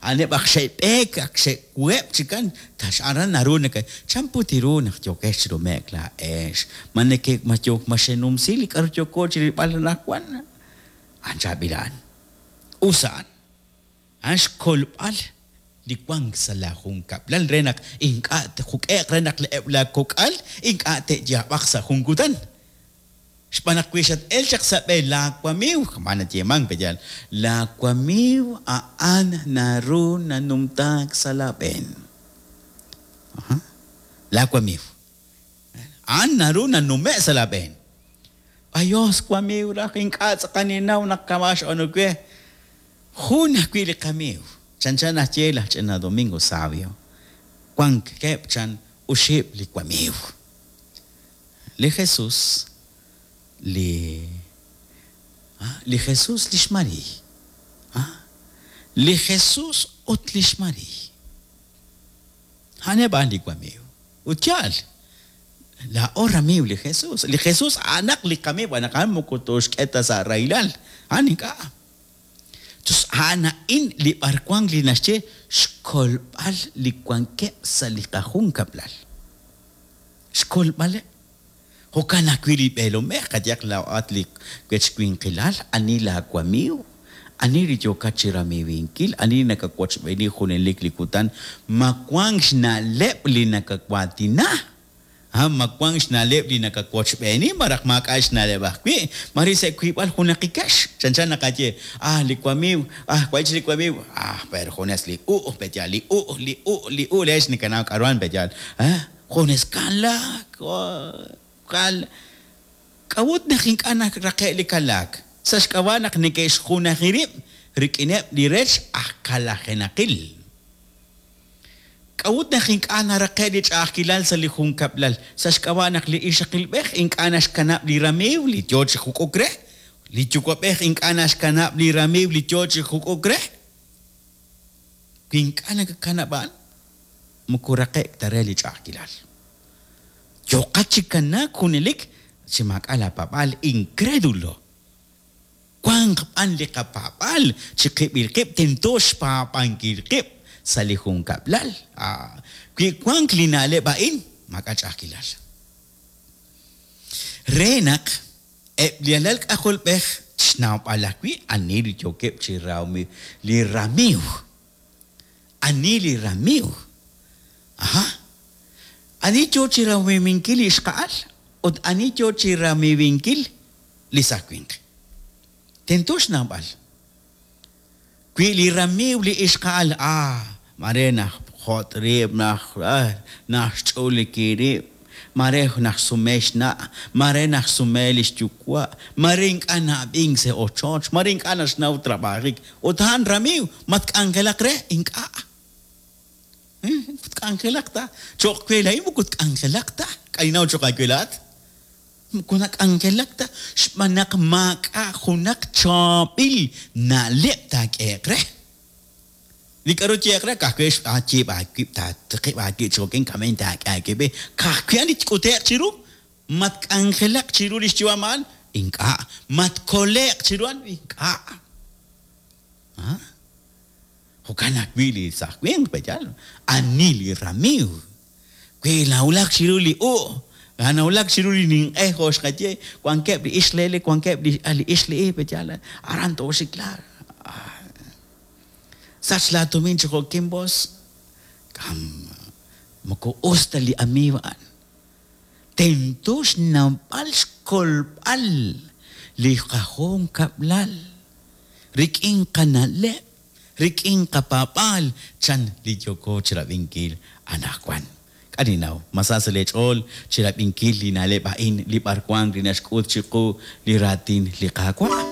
A'aneb' ak xe'b'eek, ak xe'wuheb' chikan, aran naru neke, chan put ru naq yookex chi nume'k laa'ex? Ma neke, ma yook, ma xenumsi li k'a'ru yooko chirilb'al anaqwan? A'an chaab'il a'an. Us a'an. A'an xkolb'al li wank sa' laa junkab'lal re naq ink'a' tjuk'e'q re naq eb' laa kok'al ink'a' te'yaab'aq sa' jun kutan. Xb'aan naq wi xat-el chaq sa' b'e laa wamiiw, kama'an nayeemank pe yaal, laa wamiiw a'an naru nanumtaak sa' laa b'een. Aha. Laa wamiiw. A'an naru nanume' sa' laa b'een. Ayos wamiiw raj, ink'a' tz'aqal ninnaw naq kama' xb'aanu we. Jun ajwi' li qamiiw, chanchan naxye laj ch'ina Domingo Savio, wankeb' chan oxib' li wamiiw. Li Jesus, li li Jesus, li xMariiy. Li Jesus ut li xMariiy. A'aneb' a'an li wamiiw. Ut yaal, laa'o ramiiw li Jesus. Li Jesus a'anaq li qamiiw, a'an naq a'an moko tooxk'e ta sa' rahilal. A'an ink'a'. Tus a'an a'in li b'arwan li naxye xkolb'al li wankeb' sa' li qajunkab'lal. Xkolb'aleb'. Jo'kan ajwi' li b'eelomej, qayehaq laa'at li wech winqilal, ani laawamiiw, ani li yookat chi ramiiwinkil, ani li nakawochb'eeni junelik li kutan, ma wank xna'leb' li nakawaatina? Ha, ma wank xna'leb' li nakawochb'eeni malaj maak'a' xna'leb' ajwi'? Maare sa' wiib'al junaqikex. Chanchan naqaye, Ah, li wamiiw, ah, wahi' chik li wamiiw, ah, pero junes li u', pe'yaal, li u', li u', li u', leex nekanaw k'a'ruhan, pe'yaal, ah, junes kalaak, oh, kal. K'a'ut naq ink'a' naraqe' li kalaak? Sa' xk'ab'a' naq neke'xjunaji rib' rik'ineb' li rech aj kalajenaqil. K'a'ut naq ink'a' naraqe' li ch'a'ajkilal sa' li junkab'lal? Sa' xk'ab'a' naq li ixaqilb'ej ink'a' naxkanab' li ramiiw li yoo chi juk'uk re, li yuwa'b'ej ink'a' naxkanab' li ramiiw li yoo chi juk'uk re. Wi ink'a' nakakanab' a'an, moko raqe'k ta re li ch'a'ajkilal. Yooqat chi kanaak junelik chi maak'a' laa paab'aal, incredulo. Wanq b'an li qapaab'aal chiqib'il qib' tento xpaab'ankil qib' sa' li junkab'lal. Wi wank li na'leb' a'in, maak'a' ch'a'ajkilal. Re naq eb' li alal k'ajolb'ej xnawb'al ajwi' ani li yookeb' chi li ramiiw. Ani li ramiiw? Aha. Ani yoo chi ramiiwinkil li ixqa'al ut ani yoo chi ramiiwinkil li saaj winq. Tento xnawb'al. Wi li ramiiw li ixqa'al, ah, maare naxjot' rib', naxch'uliki rib', maare naxsume xna', maare naxsume li xyuwa', maare ink'a' na'ab'ink sa' ochoch, maare ink'a' naxnaw trab'ajik, ut a'an ramiiw, ma tk'anjelaq re? Ink'a'. Moko tk'anjelaq ta. Cho'q we laa'in moko tk'anjelaq ta. K'a' ninnaw cho'q aawe laa'at? Moko nak'anjelak ta xb'aan naq maak'a' junaq chaab'il na'leb' taak'ehe'q re. Li k'a'ru tyehe'q re, ka'ajwi' xb'aan yiib' aawib', taatiqib' aawib' chi jo'kin k'ameb' taak'e aawib', ka'ajwi' a'an li tk'ute'q chiru. Ma tk'anjelaq chiru li xyu'am a'an? Ink'a'. Ma tkole'q chiru a'an? Ink'a'. Jo'kan ajwi' li saaj winq, pe'yaal? Ani li ramiiw? Wi nawulak chiru li u', nawulak chiru li ninq'e jo' xqaye, wankeb' li ixq lele, wankeb' li li ixq li i, pe'yaal? Aran tooxik laa. Sach laa tumin chi jo'kin bos. Kam, moko us ta li amiiw a'an. Tento xnawb'al xkolb'al li qajunkab'lal rik'in qana'leb', rik'in qapaab'aal, chan li yooko chirab'inkil anaqwan. K'a' ninnaw, ma sa sa' lee ch'ool chirab'inkil li na'leb' a'in li b'arwan li naxk'ut chiqu li raatin li Qaawa'?